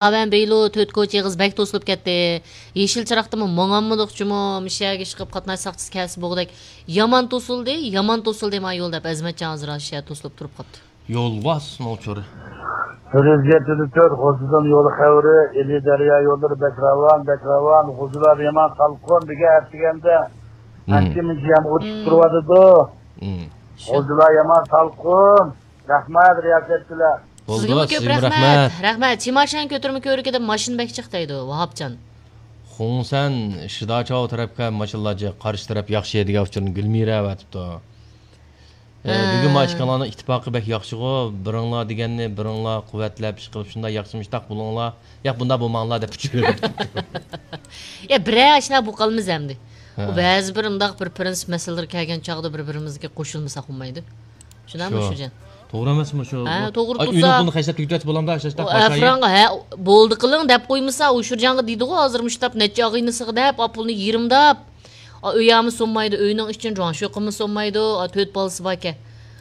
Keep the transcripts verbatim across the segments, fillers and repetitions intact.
ئاۋەن بېيلو تۆت كوچا ئېغىز بەك توسۇلۇپ كەتتى. يېشىل چىراغدىمۇ ماڭالمىدۇقچىمۇ، مۇشۇ يەرگە ئىشقىلىپ قاتناش ساقچىسى كەلسە بوغدەك. يامان توسۇلدى، يامان توسۇلدى ما يول دەپ، ئەزمەتجان ھازىر شۇ يەردە توسۇلۇپ تۇرۇپ قاپتۇ. يولۋاس نوچۇرى. بىر يۈز يەتتە تۆت غوزىدىن يول خەۋىرى، ئىلى دەريا يوللىرى بەك راۋان، بەك راۋان، غوزىلار يامان سالقىن، دېگەن ئەتىگەندە ئانچە مۇنچە يامغۇر چۈشۈپ تۇرۇۋاتىدۇ. غوزىلار يامان سالقىن. رەھمەت، رىياسەتچىلەر. بولدى، سىزگىمۇ كۆپ سىزگىمۇ رەھمەت. رەھمەت. رەھمەت. چىماشان كۆتۈرمە كۆۋرۈكىدە ماشىنا بەك جىق دەيدۇ، ۋاھاپجان. خۇڭسەن شىداچاۋ تەرەپكە ماشىنىلار جىق، قارشى تەرەپ ياخشى دېگەن ئۇچۇرنى گۈلمىرە ئەۋەتىپتۇ. ئە، ھە. بۈگۈن ما ئىككىڭلارنىڭ ئىتتىپاقى بەك ياخشىغۇ، بىرىڭلار دېگەننى بىرىڭلار قۇۋۋەتلەپ ئىشقىلىپ شۇنداق ياخشىمۇشتاق بولۇڭلار، ياق بۇنداق بولماڭلار دەپ ئۇچۇر بېرىپتۇ. يا بىرەر ئاشۇنداق بولۇپ قالىمىز ئەمدى. ھە. ئۇ بەزى بىر ئۇنداق بىر پىرىنسىپ مەسىلىلىرى كەلگەن چاغدا بىر بىرىمىزگە قوشۇلمىساق بولمايدۇ. شۇنداقمۇ شۇ. شۇجان؟ توغرا ئەمەسمۇ شۇ؟ ھە، بۇ، توغرا ئاي، تۇرسا. ئۆينىڭ پۇلىنى خەجلەپ تۈگىتىۋەتسە بولامدا، شاشتاق ئۇ باشايى. ئەفرانغا، ھە، بولدى قىلىڭ دەپ قويمىسا، ئۇ شۇجانغا دېدىغۇ، ھازىر مۇشۇنداق نەچچە ئاغىنىسىغا دەپ، ئا، پۇلنى يېرىمداپ. ئا، ئۆي ئامى سۇنمايدۇ، ئۆينىڭ ئىچىنى جۇاڭشۇ قىلما سۇنمايدۇ، ئا، تۆت بالىسى باركەن.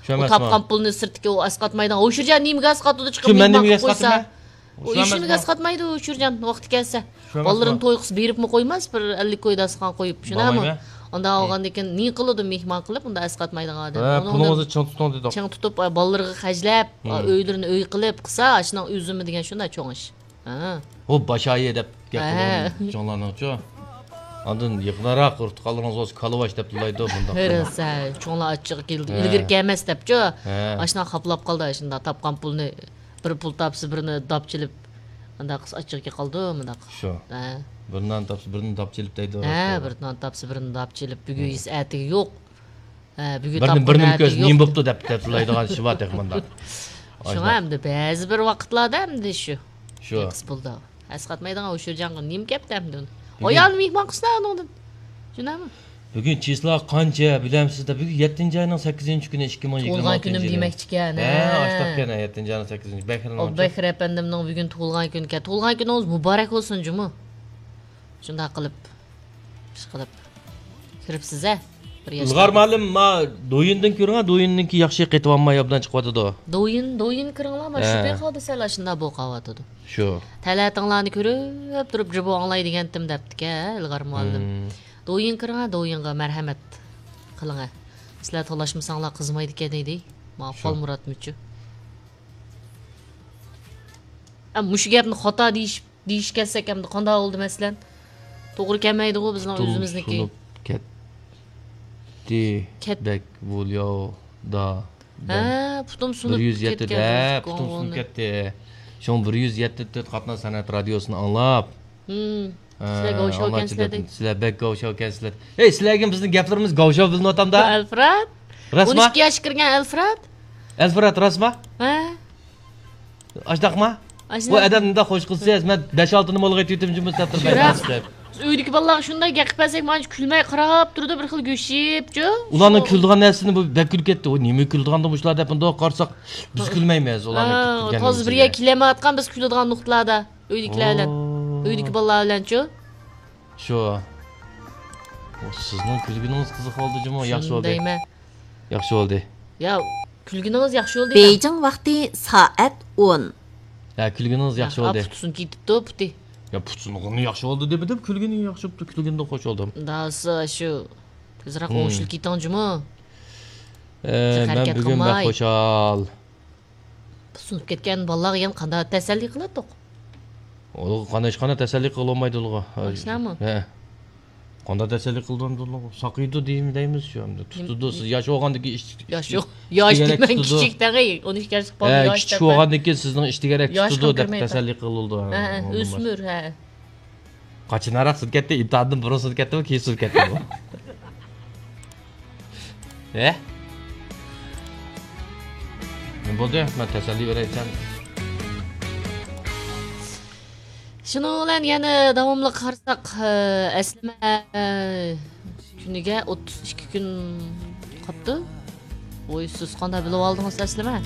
شۇ ئۇ ئەمەسمۇ؟ تاپقان پۇلنى سىرتتىكى ئۇ ئەسقاتمايدىغان. ئۇ شۇجان نېمىگە ئەسقاتىدۇ چىقىپ شۇ مەن مېھمان نېمىگە قىلىپ قويسا؟ ئەسقاتىمەن؟ ئۇ ئىشىنى ئەسقاتمايدۇ ئۇ شۇجان ۋاقتى كەلسە. شۇ ئەمەسمۇ؟ بالىلىرىنى توي قىلسا بېرىپمۇ قويماس، بىر ئەللىك كوي داستىخان قويۇپ، شۇنداقمۇ؟ بارمايمەن. ئۇنداق بولغاندىكىن نېمە قىلىدۇ مېھمان قىلىپ، ئۇنداق ئەسقاتمايدىغان ئادەم. ھە، ئۇنىڭدىن پۇلىڭىزنى چىڭ تۇتۇڭ دېدۇق. چىڭ تۇتۇپ، ئا، بالىلىرىغا خەجلەپ، ئا، ئۆيلىرىنى ئۆي قىلىپ قىلسا، ئاشۇنىڭ ئۈزۈمى دېگەن شۇنداق چوڭ ئىش. ھە. ئۇ باشايى دەپ گەپ قىلغان چوڭلارنىڭچۇ. ئاندىن يېقىنراق ئۇرتۇقالىرىڭىز بولسا كالىۋاش دەپ تىللايدۇ، بۇنداق. ھە، راست، ھە. چوڭلار ئاچچىقى كېلىدۇ، ھە. ئىلگىرى كەلمەس دەپچۇ. ھە. ئاشۇنداق خاپىلاپ قالدى، ئاشۇنداق تاپقان پۇلنى، بىر پۇل تاپسا بىرنى داپ چېلىپ، ئانداق قىلسا ئاچچىقى كېلىپ قالىدۇ، مۇنداق. شۇ. ھە. بىر نان تاپسا بىرنى داپ چېلىپ دەيدۇ، ھە، راست. بىر نان تاپسا بىرنى داپ چېلىپ، بۈگۈن يېسە ئەتىگە يوق. ھە، بۈگۈن بىرنى، تاپقان بىرنى ئەتە كۆرسە يوق. نېمە بوپتۇ دەپ، دەپ تۇرىدىغان ئىش بار تېخى مۇنداق. شۇڭا ئەمدى بەزى بىر ۋاقىتلاردا ئەمدى شۇ. شۇ. تېكىست بولدى. ئەسقاتمايدىغان ئۇ شۇجانغا نېمە گەپتە ئەمدى ئۇنى؟ بۈگۈن ئايالنى مېھمان قىلسىنا ئۇنىڭدىن. شۇنداقمۇ؟ بۈگۈن چىسلا قانچە بىلەمسىز دە؟ بۈگۈن يەتتىنچى ئاينىڭ سەككىزىنچى كۈنى، ئىككى مىڭ يىگىرمە ئالتىنچى يىلى. تۇغۇلغان كۈنۈم دېمەكچىكەن، ھە، ھە. ئاشتاقكەن، ھە، يەتتىنچى ئاينىڭ سەككىزىنچى. بەكرىنىڭ ئۇ بەكرى ئەپەندىمنىڭ بۈگۈن تۇغۇلغان كۈنىكەن. تۇغۇلغان كۈنىڭىز مۇبارەك بولسۇن جۇمۇ. شۇنداق قىلىپ، ئىشقىلىپ كىرىپسىز ھە. بىر ياشقا. ئىلغار مۇئەللىم، ما، دويىندىن كۆرۈڭە، دويىندىنكى ياخشى قېتىۋالماي ئوبدان چىقىۋاتىدۇ. دويىن، دويىن كىرىڭلار، ما، شۇ ھە. پېقىلدا سەل ئاشۇنداق بولۇپ قالىۋاتىدۇ. شۇ. تەلەتىڭلارنى كۆرۈپ تۇرۇپ، جۇبۇ ئاڭلاي دېگەنتىم دەپتىكەن، ھە، ئىلغار مۇئەللىم. مم. دويىن كىرىڭە، دويىنغا مەرھەمەت قىلىڭە. سىلەر تالاشمىساڭلار قىزمايدىكەن دېدى. ما، شۇ. خالمۇراتمۇچۇ. ئە، مۇشۇ گەپنى خاتا دېيىش دېيىشكە كەلسەك ئەمدى قانداق بولدى مەسىلەن؟ توغرا كەلمەيدىغۇ بىزنىڭ پۇتۇم ئۆزىمىزنىكى. سۇنۇپ كەتتى. كەت- بەك ۋۇلياۋدا. ھە، پۇتۇم سۇنۇپ بىر يۈز يەتتە كەتكەن دە، پۇتۇم سۇنۇپ كەتتى. شۇڭا بىر يۈز يەتتە تۆت قاتناش سەنئەت رادىيوسىنى ئاڭلاپ. ھىم. ھە، سىلەر گاۋشاۋ ئاڭلاپ ئىكەنسىلەر دەيدۇ. سىلەر بەك گاۋشاۋ ئىكەنسىلەر. ھەي، سىلەرگە بىزنىڭ گەپلىرىمىز گاۋشاۋ بىلىنىۋاتامدا؟ ئەلفراد؟ راستما؟ ئون ئىككى ياشقا كىرگەن ئەلفراد؟ ئەلفراد، راستما؟ ھە. ئاشۇنداقما؟ ئاشۇنداق. بۇ ئادەم مۇنداق خوش قىلسىز، مەن بەش-ئالتىنى مولغا ئېتىۋېتىمجۇ بۇ سەپتىر شۇنداق. بەك ئۆيدىكى بالىلارغا شۇنداق گەپ قىلىپ بەرسەك، مانا كۈلمەي قاراپ تۇرىدۇ، بىر خىل گۆشىيىپچۇ. ئۇلارنىڭ كۈلىدىغان نەرسىسىنى بۇ بەك كۈلۈپ كەتتى. ئۇ نېمە كۈلىدىغاندۇ مۇشۇلار دەپ مۇنداق قارىساق، بىز كۈلمەيمىز ئۇلارنىڭ ھە، كۈلگەن تازا بىر يەرگە كېلەلمەيۋاتقان بىز كۈلىدىغان نۇقتىلاردا. ئۆيدىكىلەر بىلەن. ئوو. ئۆيدىكى بالىلار بىلەنچۇ؟ شۇ. ئۇ سىزنىڭ كۈلگىنىڭىز قىزىق بولدى جۇمۇ، ياخشى شۇنى بولدى. دەيمەن. ياخشى بولدى. يا، كۈلگىنىڭىز ياخشى بولدى دەيمەن. بېيجىڭ ۋاقتى سائەت ئون. ھە، كۈلگىنىڭىز ياخشى بولدى. پۇتى سۇنۇپ كېتىپتۇ، پۇتى. يا، پۇتى سۇنغىنى ياخشى بولدى دېمىدىم، كۈلگىنى ياخشى بوپتۇ، كۈلگىنىدىن خوش بولدۇم. داسا شۇ، تېزراق ھىم. ئوڭشىلىپ كېتىڭ جۇمۇ. ئە، مەن بۈگۈن بەك خۇشال. سۇنۇپ كەتكەن بالىلارغا يەنە قانداق تەسەللى قىلاتتۇق؟ ئۇلارغا قانداق، ھېچقانداق تەسەللى قىلالمايدۇ ئۇلارغا. ئاشۇنداقمۇ؟ ھە. قانداق تەسەللى قىلىدۇ ئۇلارغا؟ ساقىيىدۇ دەيمىز شۇ ئەمدى. تۇتىدۇ، سىز ياش بولغاندىكىن ئىش، ياش، ئىش، ياش دېمەڭ، كىچىك دەڭ، ئون ئىككى ياشلىق بالىنى ياش دەپ. ھە، كىچىك بولغاندىكىن سىزنىڭ ئىش تېگەرەك تۇتىدۇ دەپ تەسەللى قىلىدۇ. ھە، ھە، ئۆسمۈر، ھە. قاچانراق سۇنۇپ كەتتى؟ ئىمتىھاندىن بۇرۇن سۇنۇپ كەتتىمۇ، كېيىن سۇنۇپ كەتتىمۇ؟ ھە؟ نېمە بولدى؟ مەن تەسەللى بېرەي دېسەم. شۇنىڭ بىلەن يەنە داۋاملىق قارىساق، ئەسلىمە كۈنىگە ئوتتۇز ئىككى كۈن قاپتۇ. ۋوي، سىز قانداق بىلىۋالدىڭىز ئەسلىمە؟